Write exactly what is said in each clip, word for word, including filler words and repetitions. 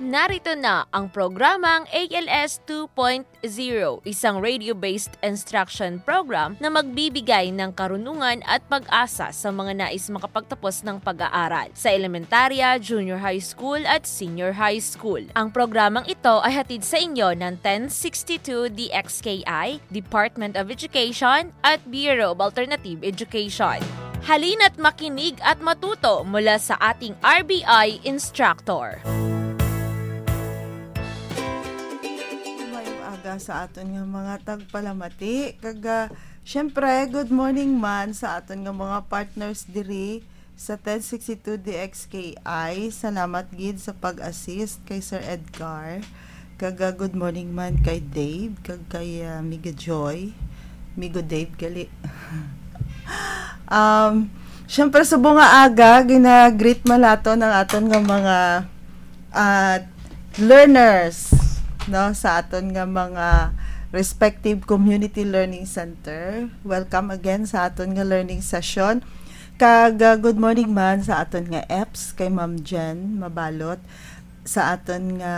Narito na ang programang A L S two point zero, isang radio-based instruction program na magbibigay ng karunungan at pag-asa sa mga nais makapagtapos ng pag-aaral sa elementarya, junior high school at senior high school. Ang programang ito ay hatid sa inyo ng ten sixty-two D X K I, Department of Education at Bureau of Alternative Education. Halina't makinig at matuto mula sa ating R B I instructor. Mayong aga sa aton nga mga tagpalamati. Kag, ah, syempre, good morning man sa aton nga mga partners diri sa ten sixty-two D X K I. Salamat gid sa pag-assist kay Sir Edgar. Kag, ah, good morning man kay Dave, kag kay, ah, Miga Joy. Migo Dave, gali. Um, syempre, subong nga aga, gina-greet man naton ang aton nga mga, ah, learners, no, sa aton nga mga respective community learning center. Welcome again sa aton nga learning session. Kag, ah, good morning man sa aton nga eps kay Ma'am Jen Mabalot, sa aton nga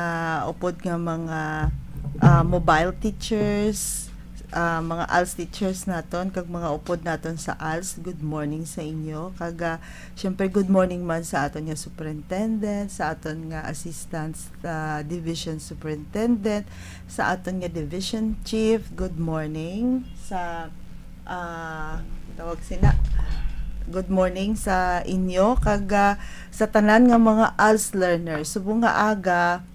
upod nga mga, ah, mobile teachers, ah, mga als teachers naton, kag mga upod naton sa als, good morning sa inyo. Kag, ah, syempre, good morning man sa aton nga superintendent, sa aton nga assistant, ah, division superintendent, sa aton nga division chief, good morning. Sa, ah, tawag sina, good morning sa inyo. Kag, ah, sa tanan nga mga als learners, subong nga aga,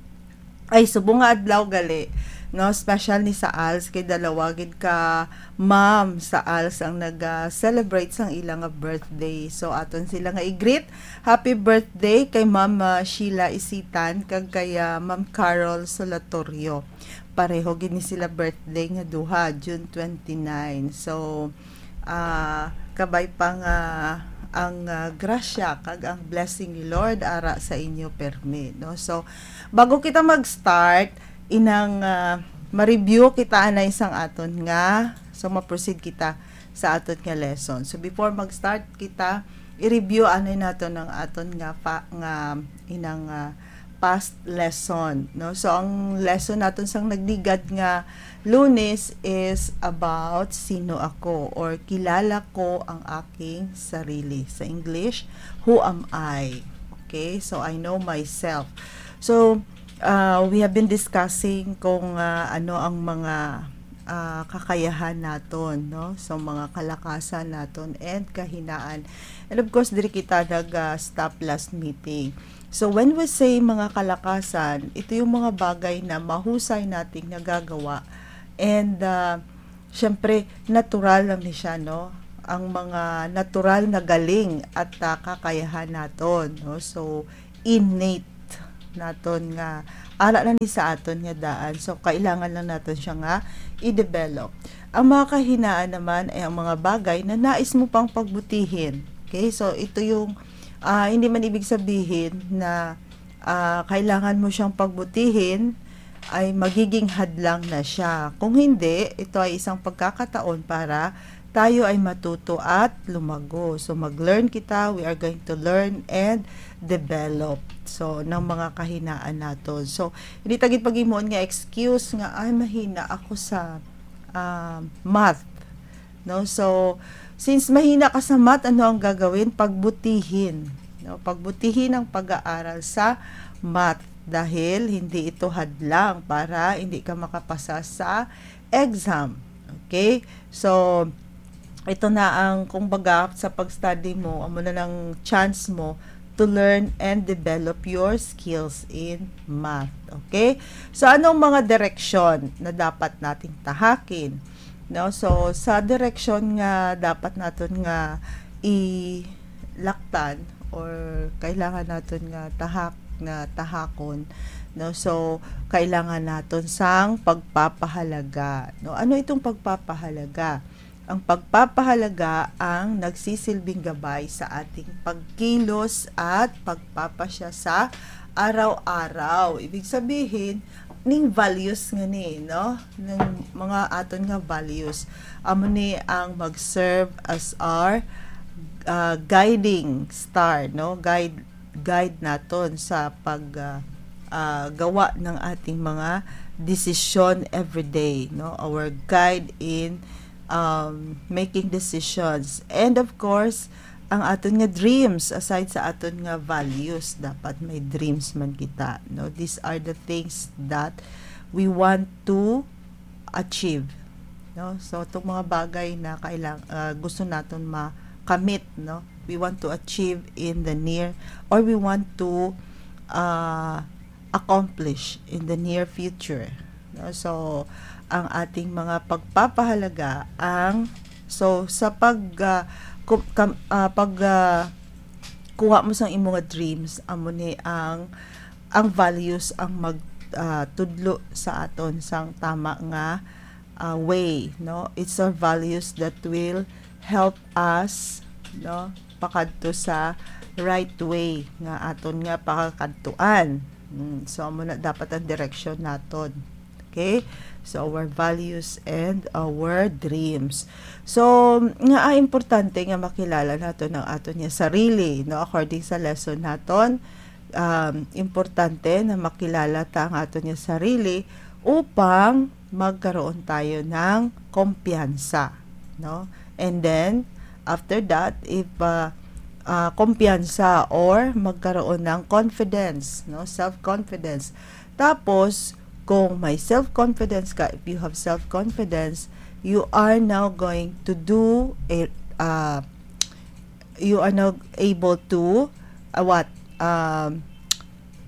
ay, subong nga adlaw gali, no? Special ni sa als kay dalawa gid ka ma'am sa als ang nag-celebrate sang ila nga birthday. So, aton sila nga i-greet. Happy birthday kay Ma'am, ah, Sheila Isitan kag kay, ah, Ma'am Carol Solatorio. Pareho gid ni sila birthday nga duha, June twenty-nine. So, ah, kabay pa nga ang, ah, grasya kag ang blessing ni Lord ara sa inyo permi, no? So, bago kita mag-start, inang, ah, ma-review kita anay sang aton nga, so ma-proceed kita sa aton nga lesson. So, before mag-start kita, i-review anay naton ang aton nga pa, nga inang, ah, past lesson, no? So, ang lesson naton sang nagligad nga Lunes is about sino ako or kilala ko ang aking sarili. Sa English, who am I? Okay? So, I know myself. So, uh, we have been discussing kung, uh, ano ang mga, uh, kakayahan naton, no? So, mga kalakasan naton and kahinaan. And of course, diri kita nag, uh, stop last meeting. So, when we say mga kalakasan, ito yung mga bagay na mahusay nating nagagawa. And, uh, syempre, natural lang ni siya, no? Ang mga natural na galing at, uh, kakayahan naton, no? So, innate naton nga ara na ni sa aton nga daan. So, kailangan lang naton siya nga i-develop. Ang mga kahinaan naman ay ang mga bagay na nais mo pang pagbutihin. Okay? So, ito yung, ah, hindi man ibig sabihin na, ah, kailangan mo siyang pagbutihin, ay magiging hadlang na siya. Kung hindi, ito ay isang pagkakataon para tayo ay matuto at lumago. So, mag-learn kita, we are going to learn and develop. So, ng mga kahinaan naton. So, hindi ta gid paghimuon nga excuse nga, "Ay, mahina ako sa, ah, math." No? So, since mahina ka sa math, ano ang gagawin? Pagbutihin. No? Pagbutihin ang pag-aaral sa math dahil hindi ito hadlang para hindi ka makapasa sa exam. Okay? So, ito na ang, kumbaga, sa pag-study mo, amo na ng chance mo to learn and develop your skills in math. Okay? So, anong mga direksyon na dapat nating tahakin? No? So, sa direksyon nga dapat naton nga ilaktan or kailangan naton nga tahak, nga tahakon, no? So, kailangan naton sang pagpapahalaga, no? Ano itong pagpapahalaga? Ang pagpapahalaga ang nagsisilbing gabay sa ating pagkilos at pagpapasya sa araw-araw. Ibig sabihin, ning values nga ni, no? Ning mga aton nga values. Amo ni ang mag-serve as our, ah, guiding star, no? Guide, guide naton sa pag, ah, ah, gawa ng ating mga desisyon every day, no? Our guide in, um, making decisions. And of course, ang aton nga dreams, aside sa aton nga values, dapat may dreams man kita, no? These are the things that we want to achieve, no? So, itong mga bagay na kailang-, ah, gusto naton makamit, no? We want to achieve in the near, or we want to, ah, accomplish in the near future, no? So, ang ating mga pagpapahalaga ang, so, sa pag, ah, ku-, kam-, ah, pag, ah, kuha mo sang imo nga dreams, amo ni ang, ang values ang mag, ah, tudlo sa aton sang tama nga, ah, way, no? It's our values that will help us, no, pakadto sa right way nga aton nga pakakadtuan. Mm, so, amo na dapat ang direksyon naton. Okay? So, our values and our dreams. So, nga, ah, importante nga makilala naton ang aton nga sarili, no? According sa lesson naton, um, importante na makilala ta ang aton nga sarili upang magkaroon tayo ng kumpiyansa, no? And then, after that, if, ah, ah, kumpiyansa or magkaroon ng confidence, no? Self-confidence. Tapos, kung may self-confidence ka, if you have self-confidence, you are now going to do a, ah, you are now able to, ah, what? Um,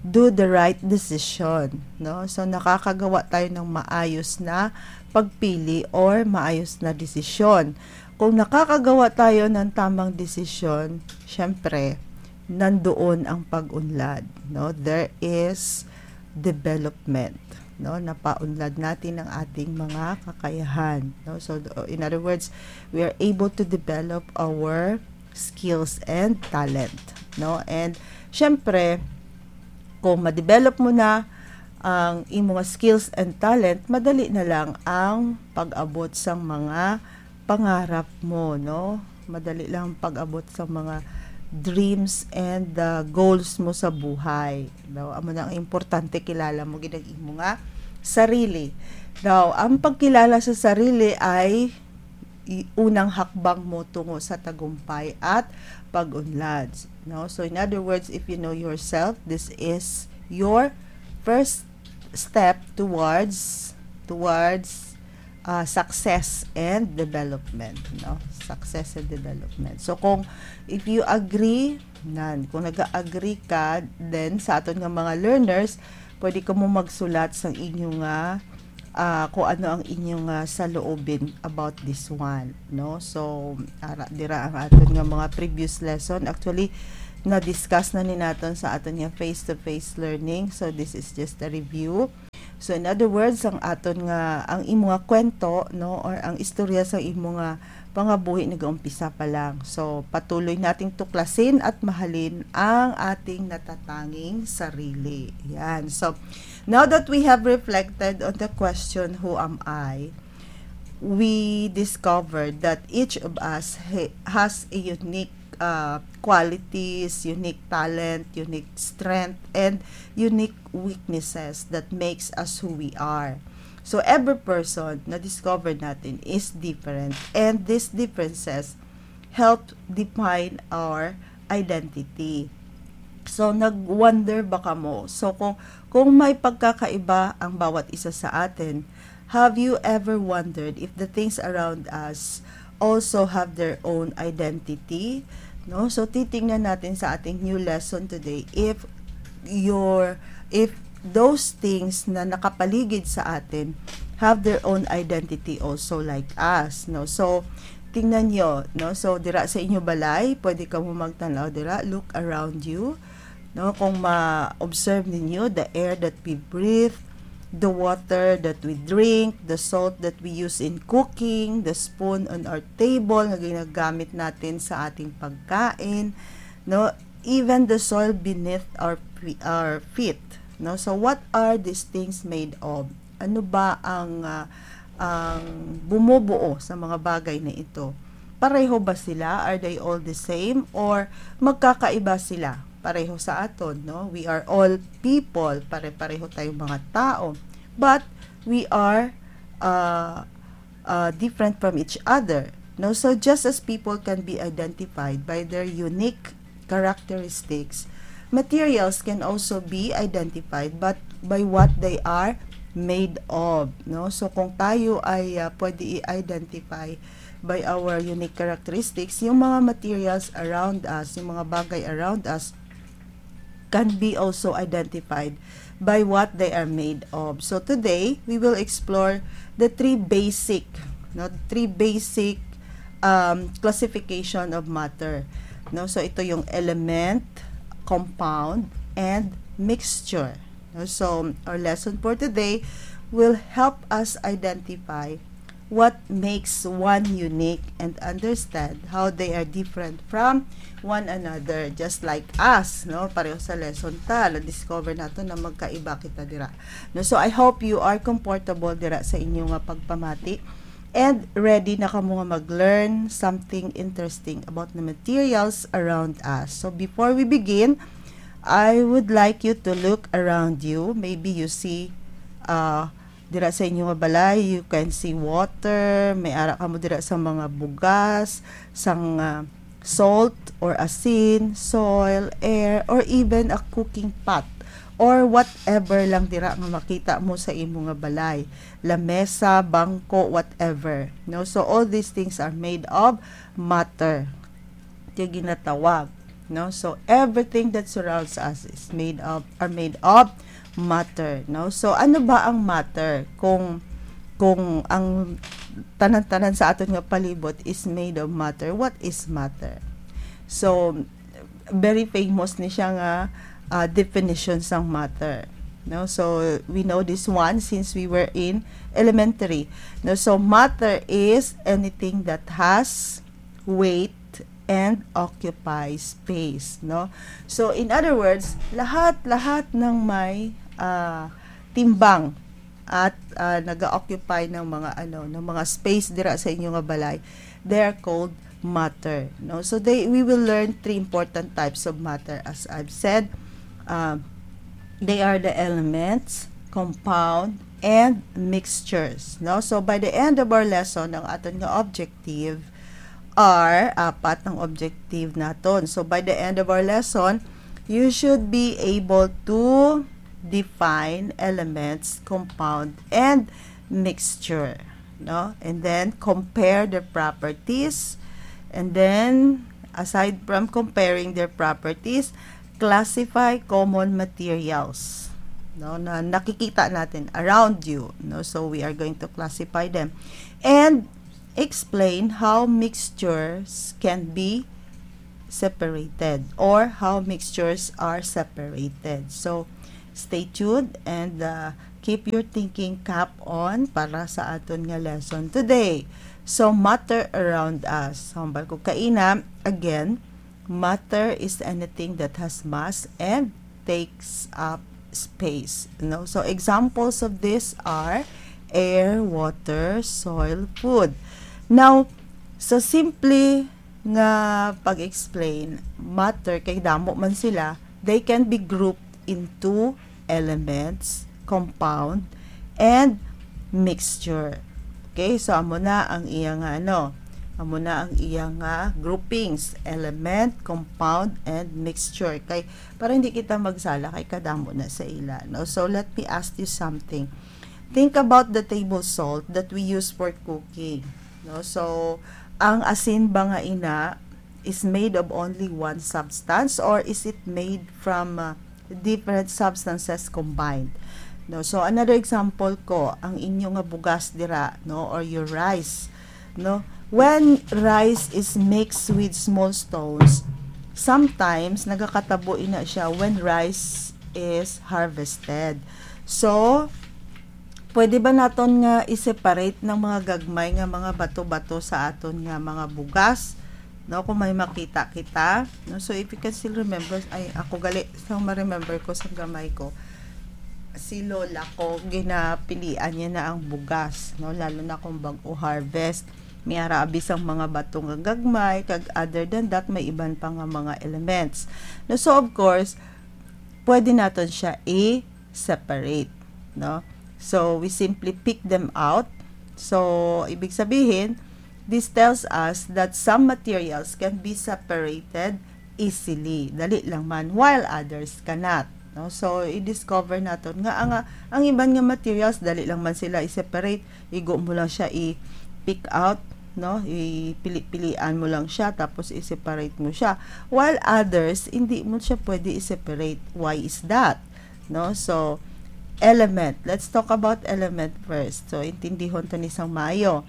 do the right decision, no? So, nakakagawa tayo ng maayos na pagpili or maayos na desisyon. Kung nakakagawa tayo ng tamang desisyon, syempre, nandoon ang pag-unlad, no? There is development, no? Napaunlad natin ang ating mga kakayahan, no? So, in other words, we are able to develop our skills and talent, no? And, syempre, kung ma-develop mo na ang imo nga skills and talent, madali na lang ang pag-abot sang mga pangarap mo, no? Madali lang ang pag-abot sa mga dreams and, uh, goals mo sa buhay, no? Amo na ang importante, kilala mo gid ang imo nga sarili. Now, ang pagkilala sa sarili ay i-, unang hakbang mo tungo sa tagumpay at pag-unlad, no? So, in other words, if you know yourself, this is your first step towards, towards, ah, success and development, no? Success and development. So, kung, if you agree, nan, kung nag-agree ka, then sa aton nga mga learners, pwede ka mo magsulat sa inyo nga, ah, kung ano ang inyo nga saloobin about this one, no? So, ara, dira ang aton nga mga previous lesson. Actually, na-discuss na ni naton sa aton nga face-to-face learning. So, this is just a review. So, in other words, ang aton nga, ang imo nga kwento, no, or ang istorya sa imo nga pangabuhi nagaumpisa pa lang. So, patuloy nating tuklasin at mahalin ang ating natatanging sarili. Yan. So, now that we have reflected on the question, "Who am I?" we discovered that each of us ha-, has a unique, uh, qualities, unique talent, unique strength, and unique weaknesses that makes us who we are. So, every person na discover natin is different, and these differences help define our identity. So, nag-wonder ba kamo? So, kung, kung may pagkakaiba ang bawat isa sa atin, have you ever wondered if the things around us also have their own identity? No? So, titingnan natin sa ating new lesson today if your, if those things na nakapaligid sa atin have their own identity also like us, no? So, tingnan nyo, no? So, dira sa inyo balay, pwede kamo magtanaw dira, look around you, no? Kung ma-observe ninyo, the air that we breathe, the water that we drink, the salt that we use in cooking, the spoon on our table na ginagamit natin sa ating pagkain, no? Even the soil beneath our pre-, our feet, no? So, what are these things made of? Ano ba ang, ah, ang bumubuo sa mga bagay na ito? Pareho ba sila? Are they all the same? Or magkakaiba sila? pareho sa aton, no? We are all people, pare-pareho tayong mga tao. But we are uh, uh, different from each other, no? So just as people can be identified by their unique characteristics, materials can also be identified but by what they are made of, no? So kung tayo ay uh, pwede i-identify by our unique characteristics, yung mga materials around us, yung mga bagay around us, can be also identified by what they are made of. So today, we will explore the three basic, no, three basic um, classification of matter. No? So ito yung element, compound, and mixture. No? So our lesson for today will help us identify what makes one unique and understand how they are different from one another, just like us, no? Pareho sa lesson ta, na-discover nato na magkaiba kita dira. No, so I hope you are comfortable dira sa inyo nga pagpamati and ready na kamo nga mag-learn something interesting about the materials around us. So before we begin, I would like you to look around you. Maybe you see uh, dira sa inyo nga balay, you can see water, may ara kamo dira sa mga bugas, sang uh, salt or asin, soil, air, or even a cooking pot or whatever lang dira nga makita mo sa imo nga balay, lamesa, bangko, whatever. No, so all these things are made of matter. Kaya ginatawag, no? So everything that surrounds us is made of are made of matter, no? So ano ba ang matter? Kung kung ang tanan-tanan sa aton nga palibot is made of matter, what is matter? So very famous ni siya nga uh, definition sang matter, no? So we know this one since we were in elementary, no? So matter is anything that has weight and occupy space, no? So in other words, lahat-lahat ng may uh, timbang at uh, nag-occupy ng mga ano, ng mga space dira sa inyo nga balay, they are called matter, no? So they we will learn three important types of matter, as I've said. Uh, they are the elements, compound, and mixtures, no? So by the end of our lesson, ang aton nga objective are apat ang objective naton. So by the end of our lesson, you should be able to define elements, compound, and mixture, no? And then compare their properties. And then aside from comparing their properties, classify common materials, no, na nakikita natin around you, no? So we are going to classify them and explain how mixtures can be separated or how mixtures are separated. So stay tuned and uh, keep your thinking cap on para sa aton nga lesson today. So matter around us. Hambal ko kaina, again, matter is anything that has mass and takes up space, no? So examples of this are air, water, soil, food. Now, sa simple nga pag-explain, matter, kay damo man sila, they can be grouped into elements, compound, and mixture. Okay, so amo na ang iya nga ano, amo na ang iya nga groupings, element, compound, and mixture. Kay para hindi kita magsala kay kadamo na sa ila, no? So let me ask you something. Think about the table salt that we use for cooking, no? So ang asin ba nga ina is made of only one substance or is it made from uh, different substances combined? No, so another example ko, ang inyo nga bugas dira, no, or your rice, no? When rice is mixed with small stones, sometimes nagakatabo ina siya when rice is harvested. So pwede ba naton nga i-separate ng mga gagmay nga mga bato-bato sa aton nga mga bugas, no, kung may makita kita, no? So if you can still remember, ay, ako gali sa ma-remember ko sa gamay ko, si lola ko, ginapilian niya na ang bugas, no, lalo na kung bag-o harvest. May ara abi sang mga bato nga gagmay, kag other than that, may iban pa nga mga elements. No, so, of course, pwede naton siya i-separate, no? So, we simply pick them out. So, ibig sabihin, this tells us that some materials can be separated easily. Dali lang man, while others cannot, no? So, i-discover naton nga ang, ang iban nga materials, dali lang man sila i-separate. Igo mo lang siya i-pick out, no? Ipili-pilian mo lang siya, tapos i-separate mo siya. While others, hindi mo siya pwede i-separate. Why is that? No? So, element. Let's talk about element first. So, intindihon ta ni sang maayo.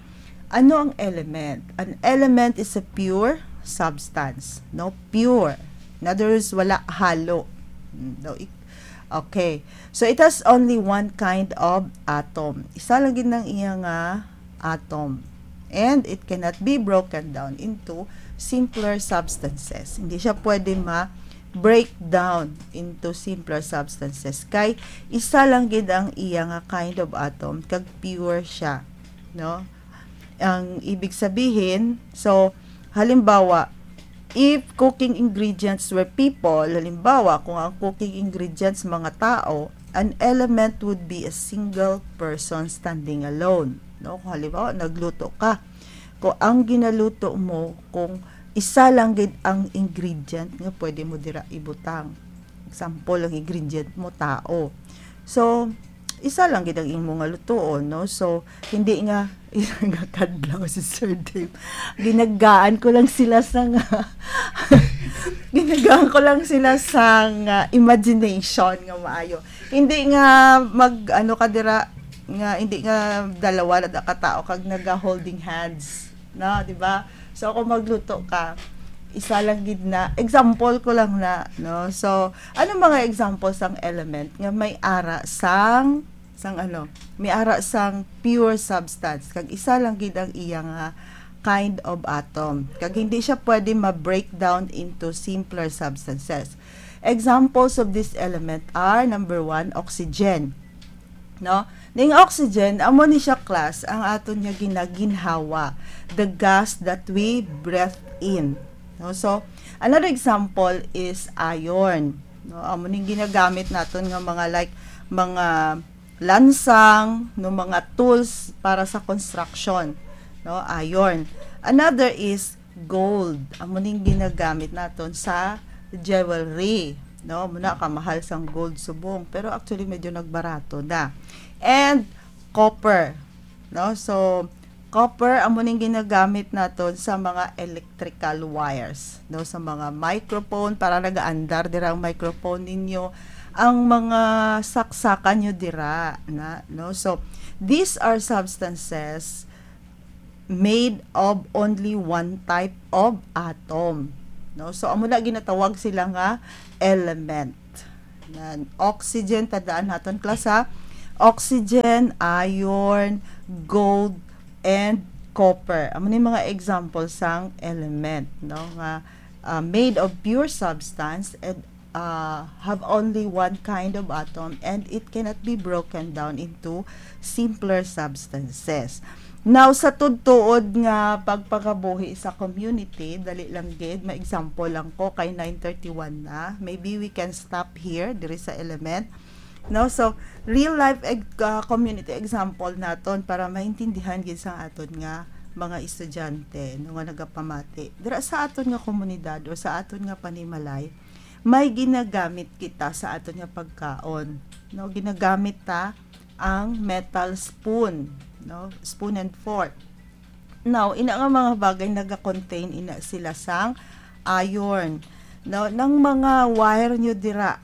Ano ang element? An element is a pure substance, no? Pure. In other words, wala halo. Mm, no, ik-, okay. So, it has only one kind of atom. Isa lang gid ang iya nga atom. And it cannot be broken down into simpler substances. Hindi siya pwede ma-break down into simpler substances. Kay isa lang gid ang iya nga kind of atom, kag pure siya, no? Ang ibig sabihin, so, halimbawa, if cooking ingredients were people, halimbawa, kung ang cooking ingredients mga tao, an element would be a single person standing alone, no? Kung halimbawa, nagluto ka, kung ang ginaluto mo, kung isa lang gid ang ingredient nga pwede mo dira ibutang. Example, ang ingredient mo, tao. So, isa lang gid ang imo nga lutuon, no? So, hindi nga, isa nga kadlaw si Sir Dave. Ginagaan ko lang sila sa nga, ginagaan ko lang sila sa nga imagination nga maayo. Hindi nga mag, ano ka dira, nga hindi nga dalawa na ka tao kag naga holding hands, no, di ba? So, kung magluto ka, isa lang gid na, example ko lang na, no? So, ano mga example sang element nga may ara sang, sang ano, may ara sang pure substance, kag isa lang gid ang iya nga kind of atom, kag hindi siya pwede ma-break down into simpler substances. Examples of this element are, number one, oxygen. No? Ning oxygen, amo ni siya, class, ang aton nga ginaginhawa, the gas that we breathe in. No? So, another example is iron. No? Amo ning ginagamit naton nga mga, like, mga lansang, no, mga tools para sa construction, no? Iron. Another is gold. Amo ning ginagamit naton sa jewelry, no? Muna ka mahal sang gold subong, pero actually medyo nagbarato na. And copper, no? So, copper amo ning ginagamit naton sa mga electrical wires, no? Sa mga microphone, para nagaandar dira ang microphone ninyo, ang mga saksakan nyo dira na, no? So, these are substances made of only one type of atom, no? So, amo na ginatawag sila nga element. Nan, oxygen, tandaan naton, class, ha? Oxygen, iron, gold, and copper. Amo ni mga example sang element, no? Nga, ah, made of pure substance and, ah, have only one kind of atom and it cannot be broken down into simpler substances. Now, sa tuod-tuod nga pagpangabuhi sa community, dali lang gid, ma-example lang ko kay nine thirty-one na. Maybe we can stop here, diri sa element. No? So, real life eg-, ah, community example naton para maintindihan gid sang aton nga mga estudyante, no, nga nagapamati. Dira sa aton nga komunidad o sa aton nga panimalay, may ginagamit kita sa aton nga pagkaon, no? Ginagamit ta ang metal spoon, no? Spoon and fork. Now, ina nga mga bagay naga-contain ina sila sang iron, no? Nang mga wire nyo dira,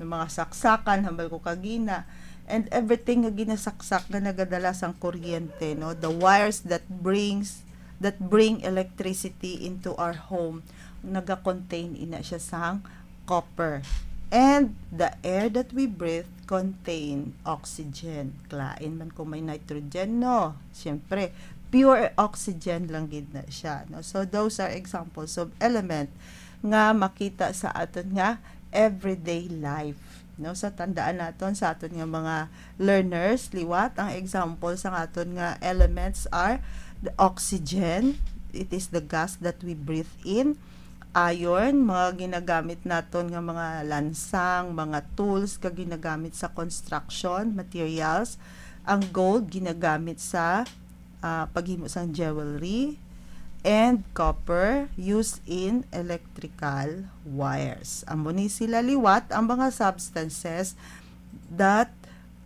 ng mga saksakan, hambal ko kagina, and everything nga ginasaksak nga nagadala sang kuryente, no? The wires that brings, that bring electricity into our home, naga-contain ina siya sang copper. And the air that we breathe contain oxygen. Lain man kung may nitrogen, no? Siyempre, pure oxygen lang gid na siya, no? So, those are examples of element nga makita sa aton nga everyday life, no? Sa tandaan naton sa aton nga mga learners, liwat, ang example sa aton nga elements are The oxygen, it is the gas that we breathe in. Iron, mga ginagamit naton nga mga lansang, mga tools ka ginagamit sa construction materials. Ang gold ginagamit sa ah, paghimo sang jewelry, and copper used in electrical wires. Amo ni sila liwat ang mga substances that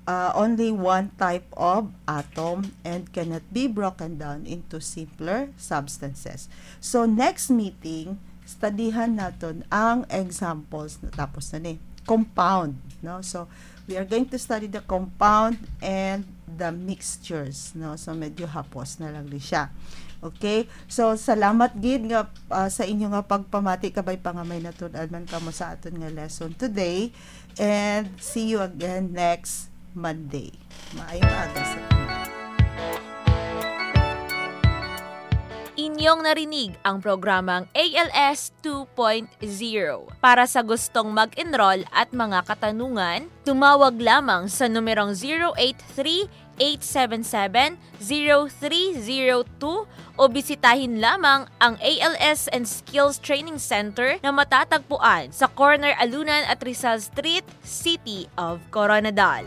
uh, only one type of atom and cannot be broken down into simpler substances. So next meeting, studihan naton ang examples. Natapos na ni. Compound, no? So we are going to study the compound and the mixtures, no? So medyo hapos na lang ni siya. Okay? So salamat gid nga uh, sa inyo nga pagpamati, kabay pa nga may natud-an man kamo sa aton nga lesson today. And see you again next Monday. Maayong aga sa inyo. Inyong narinig ang programang A L S two point zero. Para sa gustong mag-enroll at mga katanungan, tumawag lamang sa numerong zero eight three, eight seven seven, zero three zero two o bisitahin lamang ang A L S and Skills Training Center na matatagpuan sa corner Alunan at Rizal Street, City of Koronadal.